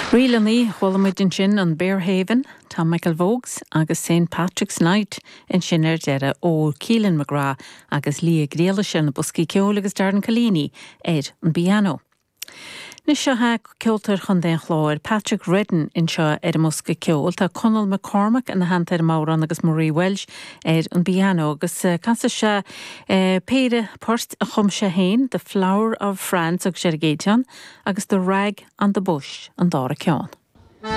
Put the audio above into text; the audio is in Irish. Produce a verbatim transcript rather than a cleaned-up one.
Ríleanna chuala muid ansin an Bearhaven, Tom McElvogues agus St Patrick's Night ansin ar deireadh ó Keelan McGrath agus Lia Griallais ar na boscaí ceoil agus Darren Collini ar an bpianó. Anois seo ceoltóir Chontae an Chláir, Patrick Redden anseo ar an mbosca ceoil, tá Conall McCormack ina theannta ar an mbodhrán agus Marie Welsh ar an bpianó agus eh, casfaidh sé eh, péire port a chum sé féin, The Flower of France agus sé an chéad cheann, agus The Rag on the Bush an dara ceann.